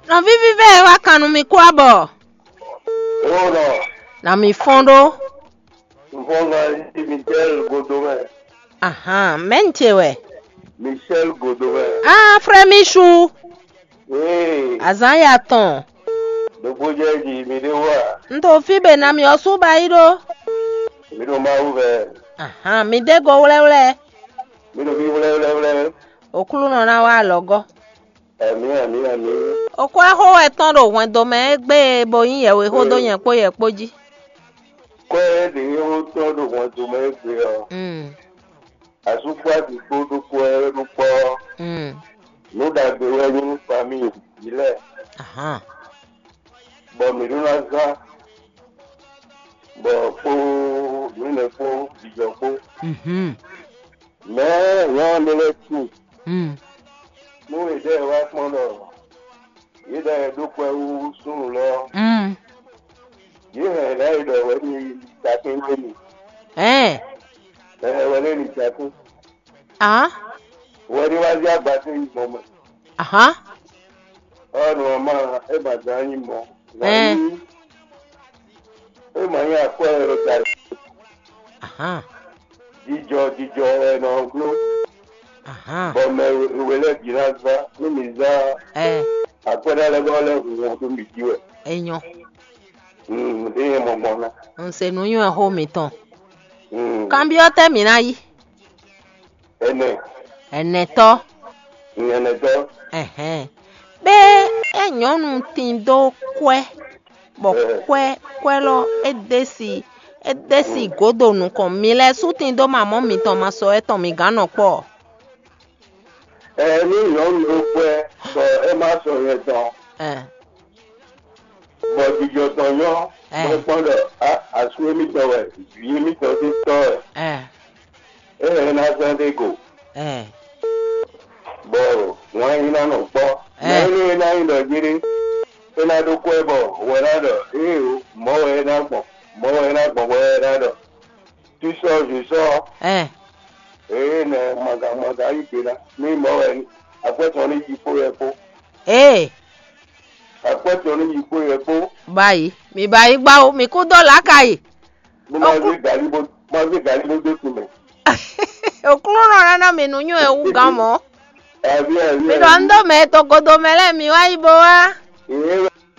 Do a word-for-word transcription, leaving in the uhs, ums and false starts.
Nɔví vívɛ́ e wá kan nú mi kú abɔ. Ó nɔ, nà mì fɔ́n ɖó. Nǔfɔ́ngán yí Michel Godomɛ. Ahan, mɛ̌ un ce wɛ? Michel Godomɛ. Ah, frère Michou. Ee, azǎn ya tɔn. Ɖokpó jɛ jí mi ɖé wá. Un to fí be ná mi ɔ́ sú ba yí ɖó. Mi ɖo Mawu vɛ. Ahan, mi dé go wlɛ́wlɛ́. Mi ɖo fí wlɛ́wlɛ́wlɛ́. Oklúnɔ ná wá alɔgɔ́. Amǐ, amǐ, amǐ. Oxó e xó wɛ tɔn ɖo hwɛndo mɛ égbé e bo nyí yɛwexó dó nyɛ kpó yɛ kpó jí. Kwɛ́ ɖě e wó tɔn ɖo hwɛndo mɛ égbé ɔ́, mm. Asú kpó asi kpó ɖokpó wɛ ɖó kpɔ́. Mm. Nǔ ɖagbe wɛ nyí nú famíyi vǐ lɛ́ɛ. Ahan. Bɔ mǐ ɖó ná zán, bɔ kpó nǔnɛ kpó jijɔ kpó. Mhm. Mɛ̌ nyɔ̌nu lɛ́ɛ tíin? Mm. Nú è ɖe wá kpɔ́n ɖɔ yě ɖɔ è ɖó kwɛ́ hú súnnu lɛ́ɛ ɔ́, mm. Yě hɛn lɛ̌ è ɖɔ wɛ ní yi takín gbé mi. Ɛn. Ɛhɛn wɛ lé ní takín. Ahán. Wɛ ní wá zí agbatɛ́ yi gbɔn mɛ. Ahán. Ɔ́ nɔ ma é ma zán nyí mɔ. Ɛn. Wǎ nyí é ma nyí akwɛ́ e ɖo ta. Ahán. Jijɔ jijɔ wɛ nɔ bló. Ahán. Bɔ mɛ we lɛ́ɛ bǐ ná zán nú mi zán. Ɛn. Akwɛ́ ná lɛ́ bɔ lɛ́ hu wɔn dó mi jí wɛ. Enyɔ. Mm, ɖé nyɛ mɔ gbɔn ná. Un se nǔnywɛ́ xó mitɔn. Mm. Kanbyɔ́ tɛ́ mǐ ná yí? Ɛnɛ. Ɛnɛtɔ́. Mm, ɛnɛtɔ́. Ɛhɛn. Bɛ é nyɔ̌nu tin dó kwɛ́, bɔ kwɛ́ kwɛ́ lɔ é dé si é dé si gǒdo nukɔn mi lɛ́ɛ sú tin dó mamɔ̌ mitɔn ma sɔ ɛtɔn mi gǎn nɔ kpɔ́. Ɛ ní nyɔ̌nu ɖó kwɛ́, bɔ é má sɔ nyɛ tɔn. Ɛ. Bɔ jijɔ tɔn nyɔ́, ɛ, bɔ é kpɔ́n ɖɔ asú émítɔn wɛ, vǐ émítɔn sín tɔ́ wɛ. Ɛ. É hɛn ná zán ɖé go. Ɛ. Bɔ wǎn yí ná nɔ kpɔ́. Ɛ. Mɛ énɛ́ e ná nyí ɖɔ jéré, é ná ɖó kwɛ́ bɔ wɛ ná ɖɔ éeǒ, mɔ̌ wɛ é ná gbɔn, mɔ̌ wɛ é ná gbɔn bɔ é ná ɖɔ. Sísɔ́ zǐsɔ́. Ɛ. Ee nɛ maga maga yí gbe ná. Ní mɔ̌ wɛ akwɛ́ tɔn ní yi kpó wɛ kpó. Ee. Akwɛ́ tɔn ní yi kpó wɛ kpó. Bayi, mi bayi gbá o, mi kú dó lǎka yi. Bó má zé galí bó má zé galí bó dó kun mɛ. Òklúnɔ ná ná mi nǔ nywɛ́ wú gán mɔ̌. Àbí àbí. Mi ɖɔ un dó mɛ togodo mɛ lɛ́ɛ mi wá yi bo wá. Ee.